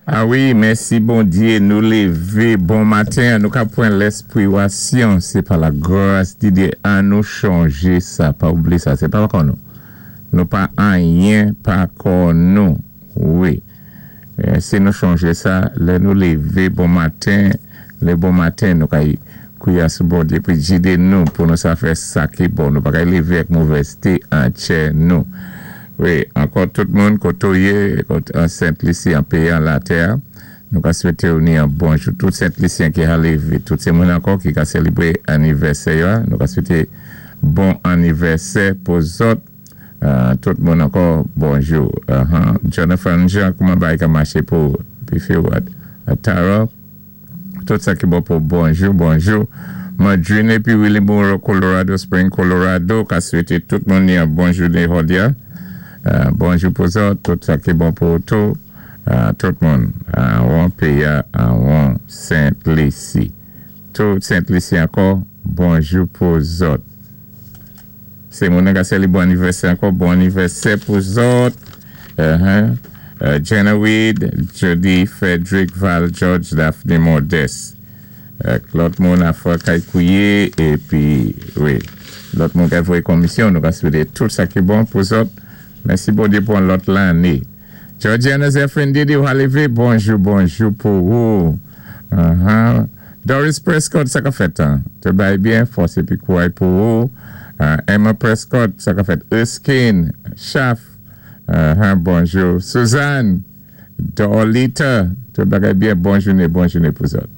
A wi, mèsi Bondyé, nou lévé bon maten, nou ka pwan lèspwiwasyon, sé pa la gras di Dyé, an nou chonjé sa, pa oubliyé sa, sé pa pa kò nou. Nou pa anyen pa kò nou, wi. Si nou chonjé sa, lè nou lévé bon maten, lé bon maten nou kay kwiya sou Bondyé pou jidé nou pou nou sa fè sa ki bon. Nou pa kay lévé ak movèzté an tchè nou. Wi, ankò tout moun koté ou yé, kot an Sent Lisi, an péyi an latè a, nou ka swété ou ni an bonjou. Tout Sent Lisyen ki ha lévé, tout sé moun ankò ki ka sélébré annivèsè yo a, nou ka swété bon annivèsè pou zòt. Tout moun ankò bonjou. Jonathan Jean, kouman bagay ka maché pou ou? Pi fi ou Tara? Tout sa ki bon pou bonjou, bonjou. Madrine épi Willy Moreau, Colorado Spring, Colorado, ka swété tout moun ni an bon jouné jòdi a. Bonjou pou zòt, tout sa ki bon pou tou, tout moun. Anwon péyi a, anwon Sent Lisi. Tout Sent Lisi ankò, bonjou pou zòt. Sé moun nan ka sèli bon annivèsè ankò, bon annivèsè pou zòt. Jenna Weed, Jody, Frederick, Val, George, Daphne, Modeste. Ak lòt moun afè kay kwiye épi wi lòt moun kay voyé konmisyon, nou ka swété tout sa ki bon pou zòt. Mèsi Bondyé pou an lòt lanné. Georgiana Zephyrin Didi ou ha lévé, bonjou bonjou pou ou. Doris Prescott, sa ka fèt an? Tout bagay byen, fòs épi kouray pou ou. Emma Prescott, sa ka fèt? Erskine, Chaf, bonjou. Suzanne, Dorlita, tout bagay byen, bon jouné, bon jouné pou zòt.